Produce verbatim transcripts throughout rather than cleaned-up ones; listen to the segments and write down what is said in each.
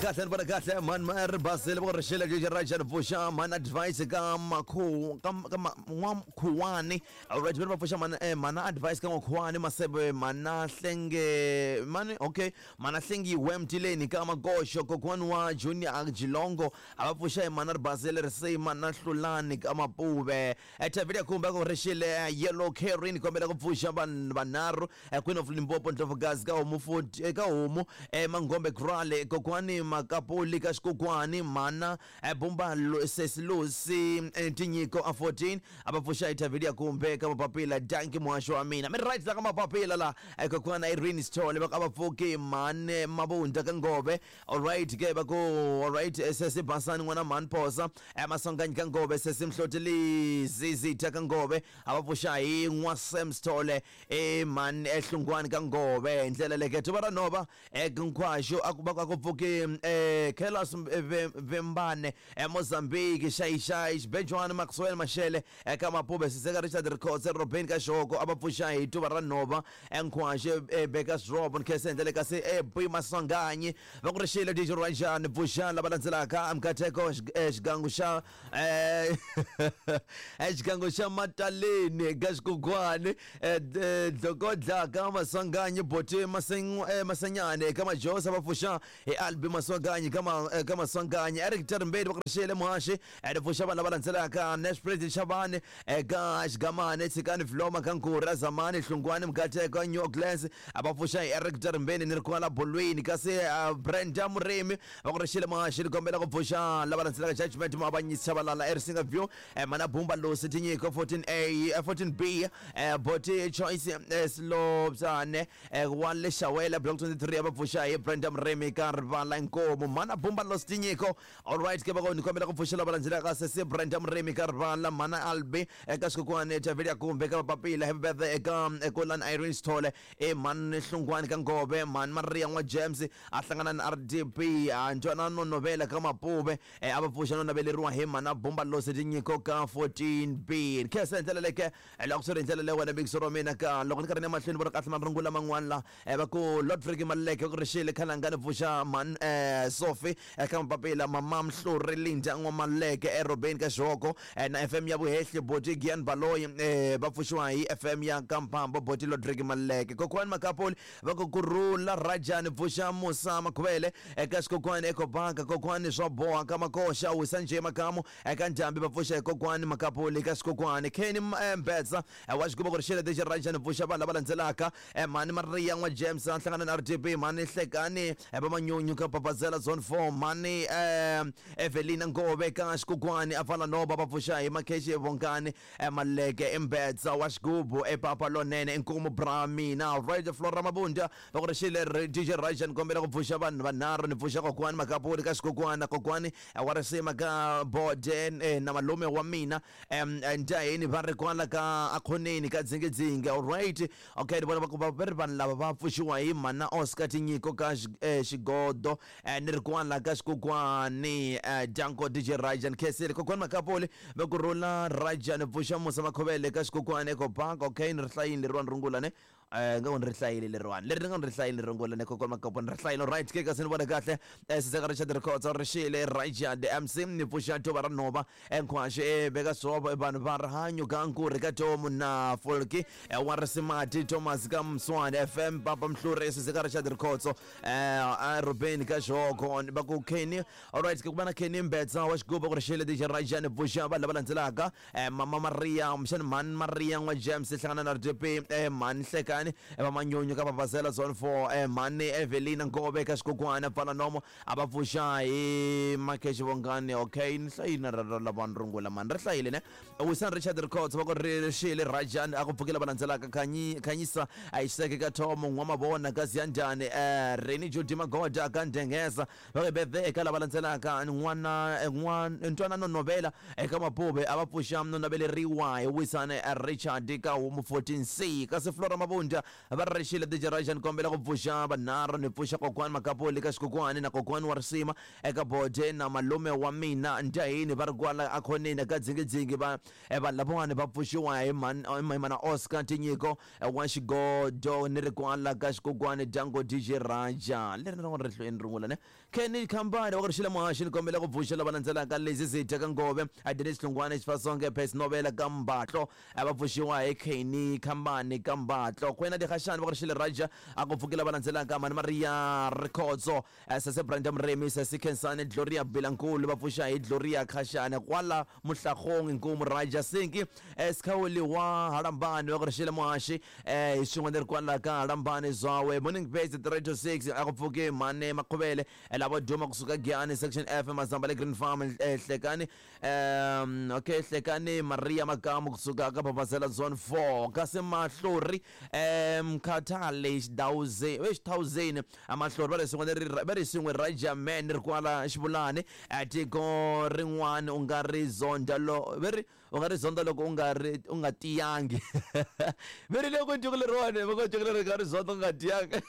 Kahle ni vona kahle mani ma ri basile va ku ri xile lexi ra xana pfuxa mani advice ka makhu ka ka n'wakhuwani. Alright, va pfuxa mana eh, mana advice ka n'wakhuwani masebe mana hlenge mani, okay, mana hlengiwe mtileni ka makoxo kokwani wa Junior Jilongo a va pfuxa hi mana ri basile ri se mana hlulani ka mapuve. Thavile kumbe ku ri xile yellow carry ni kombela ku pfuxa vanhu vanharhu, Queen of Limpopo Ndlovukazi ka homu futhi ka homu Mangombe Krale kokwani Makapuli ka xikokwani mana Bumba Sesilusi Tinyiko a fourteen a va pfuxa hi Thavile kumbe ka mapapila. Danki muhaxo wa mina mi right la ka mapapila la kokwana Irene Sithole va ka va pfuki mane Mabunda ka Ngove. Alright ke va ku alright sesi Basani n'wana mhani Phosa Masonganyi ka Ngove sesi Mhloteli Zizitha ka Ngove a va pfuxa hi n'wa Sam Sithole e mhani ehlungwani ka Ngove. Hi ndlela leke tuva ra nhova ekinkhwaxo a ku va ku pfuki Carlos Vembane eMozambique Xayixayi Xibejwani Maxwell Mashele eka Mapube Siseka Richard Rikhotse Robin ka Xoko a va pfuxa hi tuva ra nhova enkhwaxo Bakers Drop Nkhese ndlela kasi e Maswanganyi va ku ri xile D J Rajan pfuxa lava landzelaka Mkateko xigangu xa xigangu xa Mataleni ka xikokwani Dlokodla ka Maswanganyi Boti Masenyane ka Majosa va pfuxa hi Albi Maswanganyi ka ka Maswanganyi Eric Terimbeni va ku ri xile muhaxi ri pfuxa vanhu lava landzelaka Nash President Shabane eka Xigamane Tshikani Vloma ka Nkura Zamani Hlungwani Mkateko New Orleans va pfuxa hi Eric Terimbeni ni ri kwala bolweni kasi Brenda Murimi va ku ri xile muhaxi ni kombela ku pfuxa lava landzelaka Judgment Muavanyisi Chabalala Erisinga View Mana Bumba Losi Tinyiko fourteen A fourteen B Boti Choice Slobzane wa le Xawela Block twenty-three va pfuxa hi Brenda Murimi ka Rivala Nkomo Mana Bumba Losi Tinyiko. Alright ke va ku ni kombela ku pfuxa lava landzelaka sesi Brenda Murimi ka Rivala Mana Albi eka Xikokwani Thavile Kumbe ka Papila Happy birthday eka Kulani Irene Sithole e Mani Hlungwani ka Ngove Mani Maria n'wa James a hlangana na R D P Ntwanano Novela ka Mapuve a va pfuxa no naveleriwa hi Mana Bumba Losi Tinyiko ka fourteen B. Khensa hi ndlela leke loko swi ri hi ndlela leyi wena bigso ra mina ka loko ni karhi ni ya mahlweni vona kahle marungula man'wana la va ku Lord Friki Maleke ku ri xile khalanga ni pfuxa man Sophie eka Mapapila Mama Mhluri Linda n'wa Maleke eRobeni ka Xihoko na F M ya Vuhehli Boti Gian Baloyi va pfuxiwa hi F M ya Kampambo Boti Lord Friki Maleke Kokwani Makapoli va ku kurhula Rajani pfuxa Musa Makhuvele eka Xikokwani Ecobank Kokwani swa boha ka Makoxa wisa nje Makamu eka Ndhambi va pfuxa hi Kokwani Makapoli ka Xikokwani Kenny Mbetsa wa xiguba ku ri xile D J Rajani pfuxa vanhu lava landzelaka Mani Maria n'wa James a hlangana na R D P Mani Hlekani va Manyunyu ka Papazela Zone four Mani Evelina Ngove ka Xikokwani a pfala nhova va pfuxa hi Makhexe Vongani Maleke Mbetsa wa xigubu epapa lonene Nkumu bra mina Right Flora Mabunda va ku ri xile D J Rajan kombela ku pfuxa vanhu vanharhu ni pfuxa Kokwani Makapuli ka Xikokwani Kokwani wa risima ka Bode na malume wa mina Ndaheni va ri kwala ka Akhoneni ka Dzingidzingi. Alright, okay ni vona va ku va ri vanhu lava va pfuxiwa hi Mana Oscar Tinyiko ka Xigodo ni ri kwala ka Xikokwani Danko D J Rajan Khesile Kokwani Makapuli va ku rhula Rajan pfuxa Musa Makhuvele ka Xikokwani Ecobank. Okay ni ri hlayini leriwani rungula ne nga ku ni ri hlayile leriwani leri ni nga ni ri hlayile rungula ne Kokwani Makapuli ni ri hlayile. Right ke kasi ni vona kahle Siseka Richard Rikhotso ri xile Rajan the M C ni pfuxa tuva ra nhova enkhwaxo e veka swovo vanhu va rihanyo ka Nkuri ka Tomu na Folki wa Risimati Thomas ka Mswani F M Papa Mhluri Siseka Richard Rikhotso Ruben ka Xoko va ku Kenny. Alright ke ku va na Kenny Mbetsa wa xigubu ku ri xile D J Rajan pfuxa vanhu lava landzelaka Mama Maria mxani Mani Maria n'wa James hlangana na R D P Mani Hlekani va Manyunyu ka Papazela Zone four Mani Evelina Ngove ka Xikokwani pfala nomo a va pfuxa hi Makhexe Vongani. Okay ni hlayile ra ra lava rungula mani ri hlayile ne Wisan Richard Rikhotso va ku ri xile Rajan a ku pfukela va landzelaka Khanyisa Isaac ka Thomo n'wa Mavona ka Ziyandani Reni Judy Magoda ka Ndengeza va ku birthday eka lava landzelaka n'wana n'wana Ntwanano Novela eka Mapuve a va pfuxa no naveleriwa hi Wisan Richard ka Homu fourteen C kasi Flora Mabunda Mabunda va ri rixile D J Raja ni kombela ku pfuxa vanharhu ni pfuxa kokwani Makapoli ka xikokwani na kokwani wa risima eka bode na malume wa mina Ndahini va ri kwala akhoneni ka dzingidzingi va vanhu lavawani va pfuxiwa hi mana Oscar Tinyiko wa xigodo ni ri kwala ka xikokwani Dango D J Raja leri ni ri hlweni rungula ne Kenny Khambane wa ku rixile muhaxi ni kombela ku pfuxa lava landzelaka Lezi Zitha ka Ngove Dennis Hlungwane Xifasonge Pes Novela ka Mbatlo va pfuxiwa hi Kenny Khambane ka Mbatlo Kwena Dikgashane va ku rixile Raja a ku pfukela va landzelaka Mani Maria Rikhotso Sese Brenda Mremi Sese Khensani Gloria Bilankulu va pfuxa hi Gloria Khashane kwala Muhlagong Nkumu Raja Sinki Skhawuli wa Halambani va ku rixile muhaxi hi swin'we ni ri kwala ka Halambani Zwawe Morning Base three to six a ku pfuki Mane Makhuvele lavo duma kusuka Giyani Section F Mazamba le Green Farm Hlekani um okay Hlekani Maria Makamu kusuka ka Babazela Zone four kasi Mahlori um Khathale Xidawuze we Xithawuzeni Amahlori va ri swin'we va ri swin'we Raja Man ri kwala Xivulani tiko rin'wana u nga ri zonda lo va ri u nga ri zonda loko u nga ri u nga tiyangi va ri loko tiko leriwani va ku tiko leri nga ri zonda u nga tiyangi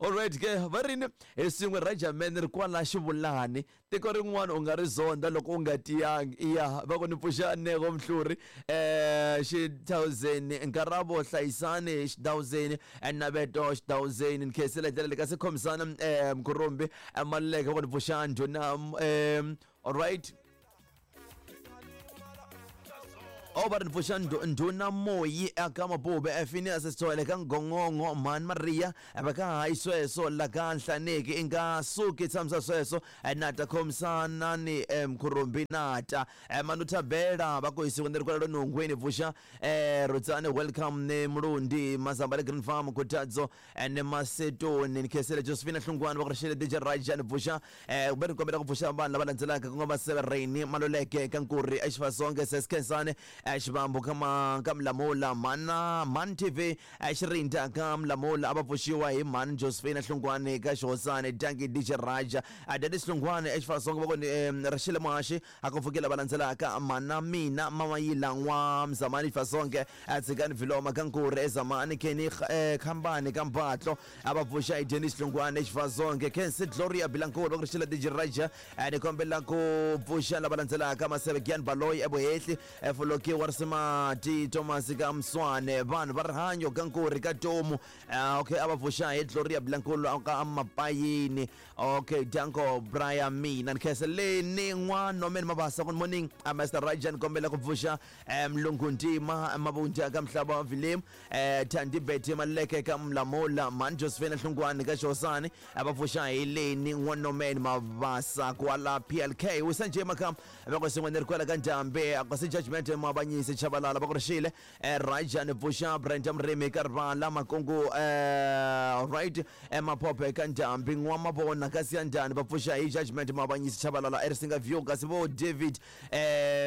alright ke va ri hi swin'we Raja Man ri kwala Xivulani tiko rin'wana u nga ri zonda loko u nga tiyangi iya va ku ni pfuxa Nego Mhluri eh Xithawuzeni Nkarabo Hlayisani Xithawuzeni Naveto Xithawuzeni ni khensela hi ndlela leyi kasi khomisana eh Mkhurumbi Maluleke va ku ni pfuxa Ndhuna eh alright o va ri ni pfuxa Ndhuna Moyi aka Mabube Phineas Sithole ka Ngongongo Mhani Maria va ka hayi sweswo la ka Nhlaneki i nga suki tshamisa sweswo nata khomisanani Mkhurumbi nata Manu Thabela va ku hisiwa ni ri kwala Nongweni pfuxa Rutsane welcome ni Mulundi Mazamba le Green Farm Khutadzo ni Masetoni ni khensela Josephine Hlungwane va ku rixile D J Raja ni pfuxa kumbe ni kombela ku pfuxa vanhu lava landzelaka ku nga Masevereni Maluleke ka Nkuri Exifasonge Seskhensane Xivambu ka ka Mlamula Mana Man T V Xirinda ka Mlamula a va pfuxiwa hi Mhani Josephine Hlungwane ka Xihosani Danki D J Raja Dennis Hlungwane Exifasonge va ku ni rixile muhaxi a ku pfukela va landzelaka Mana Mina Mamayila N'wa Mzamani Xifasonge Tshikani Viloma ka Nkuri Ezamani Kenny Khambane ka Mbatlo a va pfuxa hi Dennis Hlungwane Exifasonge Kensi Gloria Bilankulu va ku rixile D J Raja ni kombela ku pfuxa lava landzelaka Maseve Gian Baloyi eVuhehli Foloki wa Risimati Thomas ka Mswane vanhu va rihanyo ka Nkuri ka Tomu okay a va pfuxa hi Gloria Bilankulu ka Mapayini okay Danko Brian mina ni khenseleni N'wa Norman Mabasa good morning Master Raja ni kombela ku pfuxa Mlungu Ntima Mabunda ka Mhlaba wa Vilem Thandi Betty Maleke ka Mlamula Mhani Josephine Hlungwane ka Xihosani a va pfuxa hi Leni N'wa Norman Mabasa kwala P L K Wisanje Makam va ku swin'we ni ri kwala ka Ndhambi kasi Judgment Mabanyisi Chabalala va ku rixile Raja ni pfuxa Brenda Mrimi ka Rivala Makungu right Maphophe ka Ndhambi N'wa Mavona ka Siyandani va pfuxa hi Judgment Mabanyisi Chabalala Erisinga View kasi vo David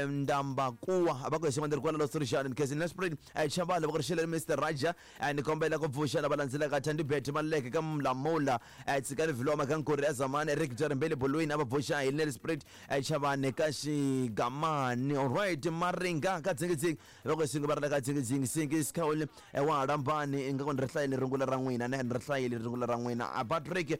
Ndambakuwa va ku swin'we ni ri kwala Losirixani ni khensile Nelspruit Chabalala va ku rixile Mister Raja ni kombela ku pfuxa lava landzelaka Thandi Betty Maluleke ka Mlamula Tshikani Viloma ka Nkuri Ezamani Eric Jarimbele Bolweni a va pfuxa hi Nelspruit Chavani ka Xigamani alright Maringa ka Dzingidzingi va ku swin'we va ri la ka Dzingidzingi Sinki Skhawuli wa Halambani ingaku ni ri hlayile rungula ra n'wina ne ni ri hlayile rungula ra n'wina Patrick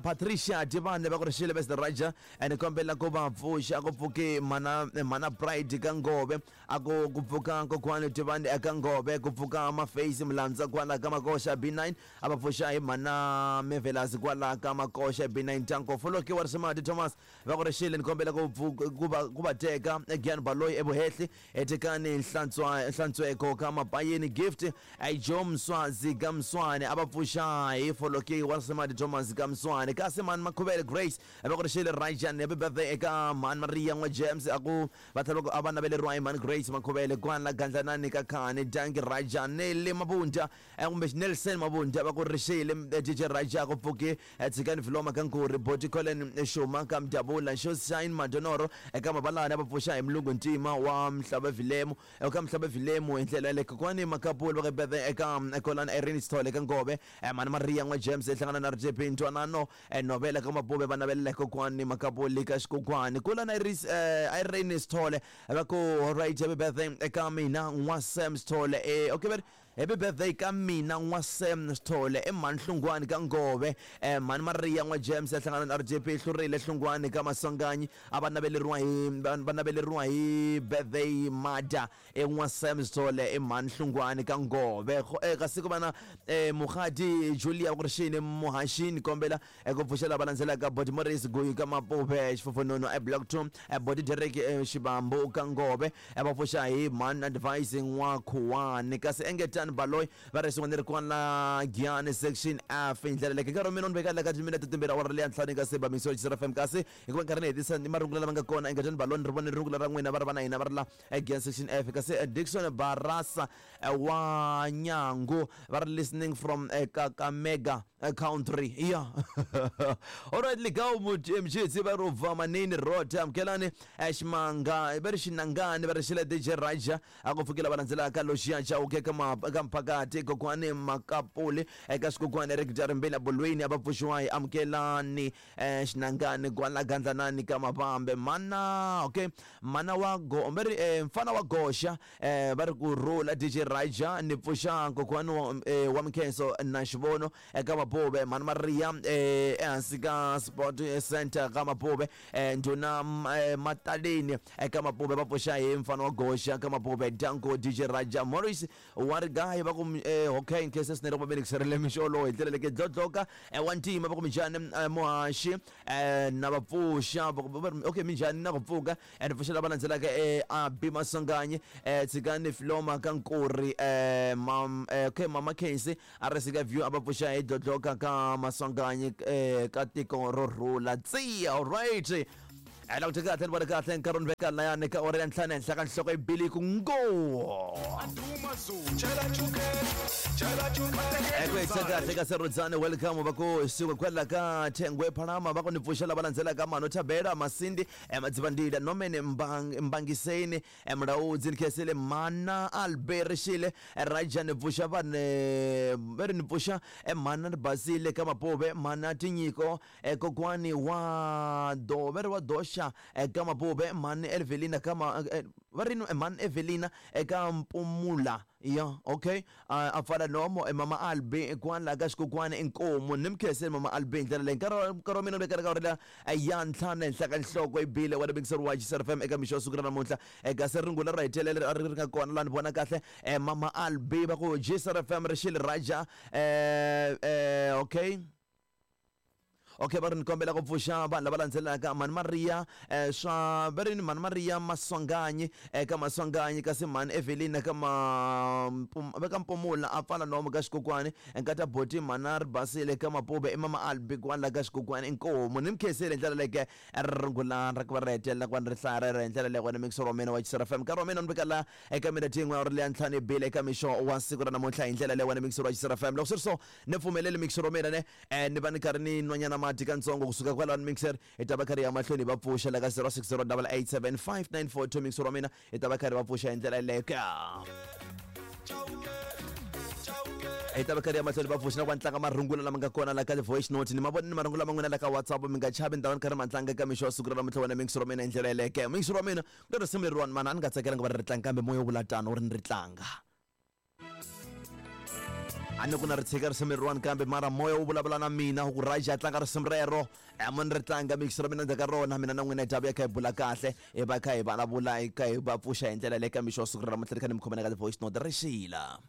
Patricia Divane va ku rixile Mister Raja ni kombela ku va pfuxa ku pfuki mana mana Pride ka Ngove a ku ku pfuka kokwani Divane eka Ngove ku pfuka Mafeisi Mlandza kwala ka Makosha B nine a va pfuxa hi mana Mevelasi kwala ka Makosha B nine Tanko Foloki wa Risimati Thomas va ku rixile ni kombela ku ku va ku va teka Gian Baloyi eVuhehli Etekani Nhlantswa Nhlantsweko ka Mapayini Gift Joe Mswazi ka Mswane a va pfuxa hi Foloki wa Risimati Thomas ka Mswane kasi Mani Makhuvele Grace va ku rixile Rajan happy birthday eka Mhani Maria N'wa James a ku va tlhela a va naveleriwa hi Mhani Grace Makhuvele kwala Gandlanani ka Khani Danki Raja Nelly Mabunda kumbe Nelson Mabunda va ku rixile D J Raja ku pfuki Tshikani Viloma ka Nkuri Boti Colin Shuma ka Mdabula Shine Madonoro eka Mabalana va pfuxa hi Mlungu Ntima wa Mhlaba Vilemu eka Mhlaba Vilemu hi ndlela yaleyo kokwani Makapulu va ku birthday eka Kolana Irene Sithole ka Ngove Mhani Maria N'wa James hlangana na R J P Ntwanano Novela ka Mabube va navelela kokwani Makapuli ka Xikokwani Kulana Irene Sithole va ku alright happy birthday eka mina N'wa Sam Sithole eh okay Happy birthday ka mina n'wa Sam Sithole i mhani Hlungwani ka Ngove, eh, mhani Maria n'wa James hlangana na R J P hlurile Hlungwani ka Maswanganyi a va naveleriwa hi va naveleriwa hi birthday mada e n'wa Sam Sithole i mhani Hlungwani ka Ngove. Kasi ku va na eh, Mukhadi Julia Kurishini Muhashini kombela ku pfuxela va landzelaka Body Morris Guyi ka Mapuve Xifofonono e Block two Body Derek Xibambu ka Ngove va pfuxa hi mhani Advice n'wa Khuwani. Kasi Engetani Baloyi va ri swin'wana ri kwala Giyani section F hi ndlela leyi nkarhi wa mina ni veka la ka timinete timbirhi awara leya ntlhanu ka seba mixo F M. Kasi hikuva nkarhi ni hetisa ni marungula lama nga kona Engetani Baloyi ni ri vone rungula ra n'wina va ri va na hina va ri la Giyani section F. Kasi Dixon Barasa wa Nyangu va ri listening from Kakamega country. Yeah. All right, ligao mchitsi va ri ubva manini road amukelani ximanga va ri xinangani va ri xile D J Raja a ku pfukela va landzelaka Loxiya Chauke ka ka Mphakati kokwani Makapuli eka swikokwani Eric Jarimbela Bolweni a va pfuxiwa hi amukelani xinangani kwala Gandlanani ka Mavambe mana okay mana wa go va ri mfana wa Goxa va ri ku rhula D J Raja ni pfuxa kokwani wa Mkhenso na Xivono eka Mapuve mhani Maria ehansi ka Sport Center ka Mapuve ndhuna Mataleni eka Mapuve va pfuxa hi mfana wa Goxa ka Mapuve Danko D J Raja Morris wa ri gayi va ku okay nkhensa swinene ku va mi mixolo hi ndlela leke dlodloka wa ntima va ku minjhani muhaxi na va pfuxa okay minjhani na ku pfuka and pfuxela va landzelaka Abi Maswanganyi Tshikani Filoma ka Nkuri okay Mama Khensi a ri sika view a va pfuxa hi dlodloka ka Maswanganyi ka tiko ro rhula tsiya. All right, ala ku kahle ni vona kahle nkarhi ni veka layani ka ora ya ntlhanu henhla ka nhloko yi bili ku ngo eku hisa kahle ka Serudzane welcome va ku suka kwala ka Thengwe Phalama va ku ni pfuxela va landzelaka Mano Thabela Masindi Madzivandila Nomene Mbangiseni Mulaudzi Nkhesele Mana Albert Xile Raja ni pfuxa vane va ri ni pfuxa Mana Basile ka Mapuve Mana Tinyiko kokwani wa do va ri wa Doxa eka Mapuve Mani Evelina ka va ri Mani Evelina eka Mpumula. Yeah, okay. A pfala nomo Mama Albi kwala ka xikokwani Inkomu ni mkheseni Mama Albi hi ndlela leyi nkarhi nkarhi wa mina ni vekela ka ora ya ntlhanu henhla ka nhloko yi bile wa lebekiseriwa wa F M eka mixo wa siku ra namuntlha. Kasi rungula ra hetelela ri ri nga kona laha ni vona kahle Mama Albi va ku G S F M ri xile Raja eh okay okay va ri ni kombela ku pfuxa vanhu lava landzelaka Mhani Maria swa va ri ni Mhani Maria Maswanganyi eka Maswanganyi kasi Mhani Evelina ka ma ka Mpumula a pfala nomo ka xikokwani nkata Boti Mhana ri basile ka Mapuve i Mama Albi kwala ka xikokwani Inkomu ni mkhesele hi ndlela leke rungula ra ku va ri hetelela ku va ni ri hlaya rero hi ndlela leyi wena mixo wa mina wa X F M nkarhi wa mina ni veka la eka minete yin'we ya ri leya ntlhanu yi bile eka mixo wa siku ra namuntlha hi ndlela leyi wena mixo wa X F M loko swi ri so ni pfumeleli mixo wa mina ne ni va ni karhi ni nwanyana mati katsongo kusuka kwalano mixer hi ta va karhi ya mahlweni va pfuxa la ka zero six zero double eight seven five nine four two mixer wa mina hi ta va karhi va pfuxa hi ndlela yeleyo hi ta va karhi ya mahlweni va pfuxa na ku tlanga marungula lama nga kona la ka voice note ni ma vona ni marungula man'wina la ka WhatsApp mi nga chavi ni ta va ni karhi ma tlanga eka mixo wa siku ra namuntlha wena mixer wa mina hi ndlela yeleyo mixer wa mina ku na risimu leriwani mana a ni nga tsakelanga va ri ri tlanga kambe moya wu vula tano wu ri ni ri tlanga a ni ku na ri tshika risimu leriwani kambe mara moya wu vulavula na mina ku Raja tlanga risimu rero mo ni ri tlanga mixer wa mina ndzhaku ka rona mina na n'wina hi ta vuya kha hi bula kahle hi va kha hi vulavula hi kha hi va pfuxa hi ndlela leyi ka mixo wa siku ra namuntlha ni kha ni mi khomela ka ti-voice note ri xila.